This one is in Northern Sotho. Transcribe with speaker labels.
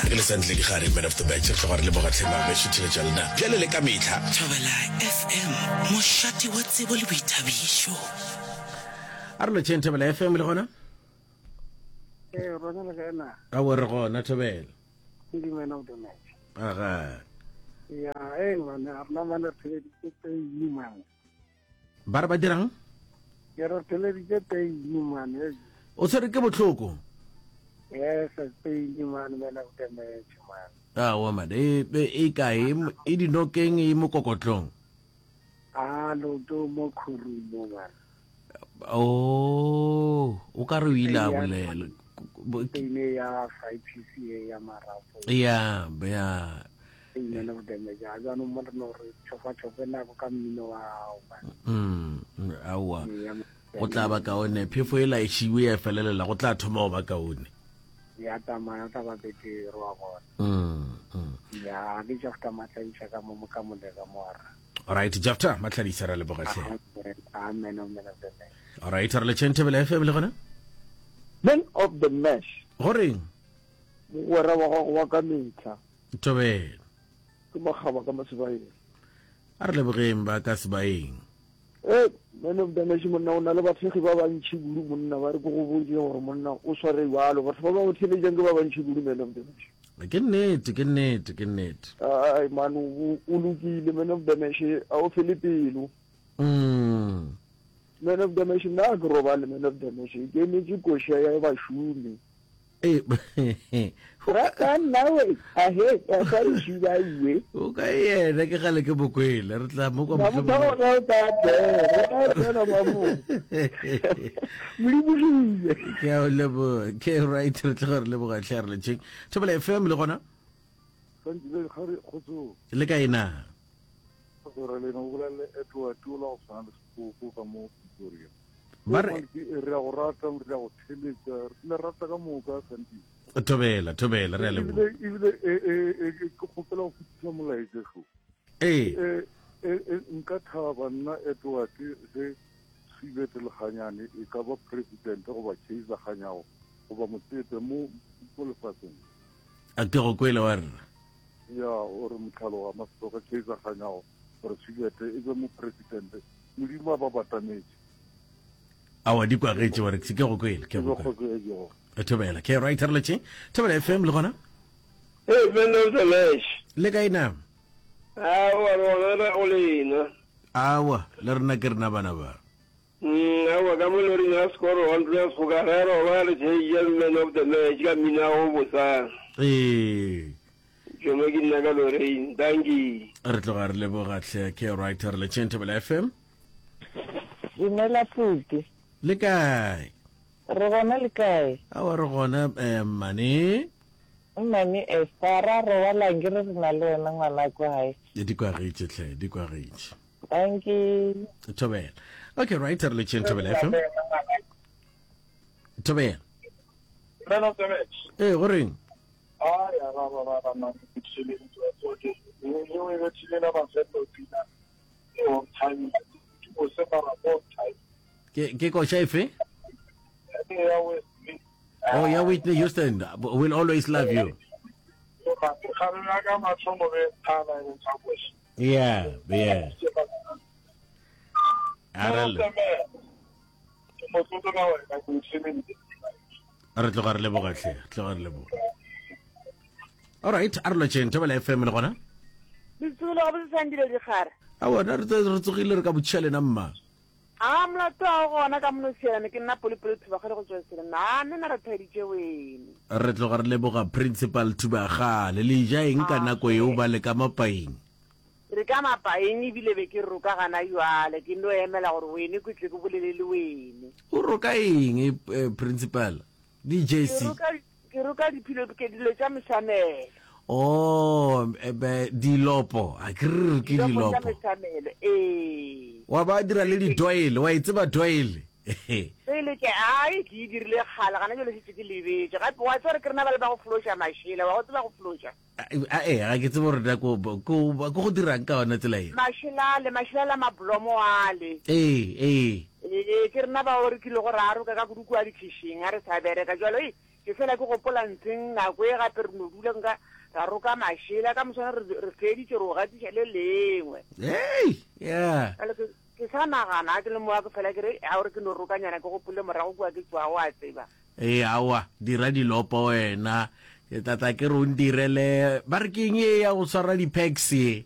Speaker 1: Re le Santle Digare, man of the match. Re tloga re leboga tlhe mabešu theletša lena bjale le ka mehla.
Speaker 2: Thobela FM, mošate wa tsebo le boithabišo.
Speaker 1: A re lotšheng Thobela FM le gona?
Speaker 3: Ee, rona le kae na?
Speaker 1: Aowa re gona Thobela.
Speaker 3: Ke man of the match.
Speaker 1: Aga.
Speaker 3: Ya, ee man, a rena man re theleditše pei man.
Speaker 1: Ba re ba dirang?
Speaker 3: Ke re theleditše pain man.
Speaker 1: O tshwere ke bohloko?
Speaker 3: Yes, pain man, man of the match man.
Speaker 1: Aowa man, e e kae? E dinokeng e mokokotlong?
Speaker 3: Ah, loto mo khurumo man.
Speaker 1: Oh, o ka re o ile a bolela.
Speaker 3: Pain ya arthritis ya marapo.
Speaker 1: Ya, ya.
Speaker 3: Man of the match. A jaanong mo re no re tšhofa-tšhofe nako ka mmino wa gago man.
Speaker 1: Mm, aowa. Go tla ba kaone. Phefo e la e šiwe ya felelela, go tla thoma go ba kaone.
Speaker 3: Ya tsamaya tla ba betere wa bona.
Speaker 1: Mm, mm.
Speaker 3: Ya, ke Jafta Matladiša ka mo ka molega mo ara.
Speaker 1: Alright, Jafta Matladiša ra leboga hle.
Speaker 3: Amen, amen of the match.
Speaker 1: Alright, re le tšhenthe FM le gona?
Speaker 4: Man of the match.
Speaker 1: Goreng?
Speaker 4: Mogwera wa gago wa ka mehla.
Speaker 1: Thobela.
Speaker 4: Ke makgaba ka Masebaeng.
Speaker 1: A re lebogeng ba ka Sebaeng.
Speaker 4: Ee, man of the match monna o na le bathekgi ba bantši kudu monna ba re ke go botse gore monna o sware jalo batho ba ba go theletšang ke ba bantši kudu man of the match.
Speaker 1: Ke nnete, ke nnete, ke nnete.
Speaker 4: Ai man o lokile man of the match a o fele pelo.
Speaker 1: Mm.
Speaker 4: Man of the match nna ke robale man of the match ke emetse koša ya bašomi. Rata nna we, ahe, ya sa itšhiba iwe.
Speaker 1: O ka yena ke gale ke bokwele, re tla mo kwa
Speaker 4: mohlomong. Mabuta o tla tsena, o tla tsena mabu. Modimo ke
Speaker 1: Ke a o leboga, ke right re tla re leboga hle re letšeng. Thobela FM le gona? Le kae na?
Speaker 5: Re le no bolela Edward o la go tshwana le sepoko ka mo Pretoria.
Speaker 1: Ba re
Speaker 5: re a go rata, re a go theletša, re le rata ka moka Santi.
Speaker 1: Thobela, thobela, re a leboga.
Speaker 5: Ebile e e e ke kgopela go fetiša molaetša šo.
Speaker 1: Ee.
Speaker 5: E e nka thaba nna Edward ge Sibete Lekganyane e ka ba president goba Kaizer Kganyago goba Motsepe mo mo lefaseng.
Speaker 1: A ke go kwele wa rra.
Speaker 5: Ya o re motlhaloga Masetoka Kaizer Kganyago gore Sibete e be mo president. Modimo a ba batametše.
Speaker 1: Awa di kwagetše wa re ke go kwele ke go kwele. E thobela ke right re letše thobela FM le gona.
Speaker 6: Hey man of the match.
Speaker 1: Le kae na?
Speaker 6: Awa re gona re go lena.
Speaker 1: Awa le rena ke rena bana ba.
Speaker 6: Mm, awa ka mo loring ya score wa ntlo ya segoka re roba re tšeja man of the match ka mmino wa go bosa.
Speaker 1: Ee.
Speaker 6: Jomo ke nna ka Lorraine. Dankie.
Speaker 1: Re tloga re leboga hle ke right re letšeng thobela FM.
Speaker 7: Dumela Phuti.
Speaker 1: Le kae?
Speaker 7: Re gona le kae?
Speaker 1: Awa re gona eh, mmane.
Speaker 7: Mmane Esther, ra robalang ke re re na le wena ngwana kwa gae.
Speaker 1: Di kwagetše hle, di kwagetše.
Speaker 7: Dankie.
Speaker 1: Thobela. Okay, right re letšeng Thobela FM. Thobela.
Speaker 8: Man of the match.
Speaker 1: Eh, go reng?
Speaker 8: Ai, a ra ra ra ra man, ke tšhelentse wa tsoke. E o e bethile la mafelelo pina. E on time. Ke mo se mara on time.
Speaker 1: Ke ke koša efe?
Speaker 8: Ya Wesley.
Speaker 1: Oh, ya Whitney Houston. We'll always love you.
Speaker 8: Kgare ya ka mathomo be thana e tsa koša.
Speaker 1: Yeah, yeah. Arale.
Speaker 8: Ke motlotlo ka wena ke tšhelentse.
Speaker 1: Re tloga re leboga hle, tloga re leboga. All right, a re lotšeng Thobela FM le gona.
Speaker 9: Le tsogile ga botse Sandile Dikgare.
Speaker 1: A bona re re tsogile re ka botšiša lena mma.
Speaker 9: A molato a gona ka mono sielane ke nna Polipoli Thubagale go tswa Selena. A nna re thaditše wene.
Speaker 1: Re tloga re leboga Principal Thubagale. Le ja eng ka nako eo ba le ka mapaing?
Speaker 9: Re ka mapaing ebile be ke roka gana jwale ke no emela gore wene ke tle ke bolele le wene.
Speaker 1: O roka eng eh, Principal? DJC.
Speaker 9: Ke roka Ke roka diphilo ke dilo tša mesamelo.
Speaker 1: Oh, eh, be, dilopo. A ke re ke
Speaker 9: Dilopo tša
Speaker 1: dilopo.
Speaker 9: mesamelo, ee.
Speaker 1: Wa ba dira le di-doyle, wa e tseba doyle.
Speaker 9: Pele ke ai ke e dirile kgale gana jalo šetše ke lebetše. Gape wa tseba gore ke rena ba le ba go floša mašela, wa go tseba go floša?
Speaker 1: Ae, ga ke tsebe gore na ko ko ko go dirang ka yona tsela e.
Speaker 9: Mašela ale, mašela la mablomo ale.
Speaker 1: Ee, ee.
Speaker 9: Ee, ke rena bao re kilego ra roka ka kudu kua dikhišing ga re sa bereka. Jalo, ei, Ke fela ke gopola ntseng nako e gape re no dula nka ra roka mašela ka moswana re re feditše re o gatiša le lengwe.
Speaker 1: Hey, yeah.
Speaker 9: Bjale ke ke sa nagana ke le mowa ke fela ke re a gore ke no rokanyana ke gopole morago kua ke tšwago a tseba.
Speaker 1: Ee, aowa, dira dilopo wena. Ke tla tla ke re o ndirele, ba re ke eng ye ya go swara di-packs ye?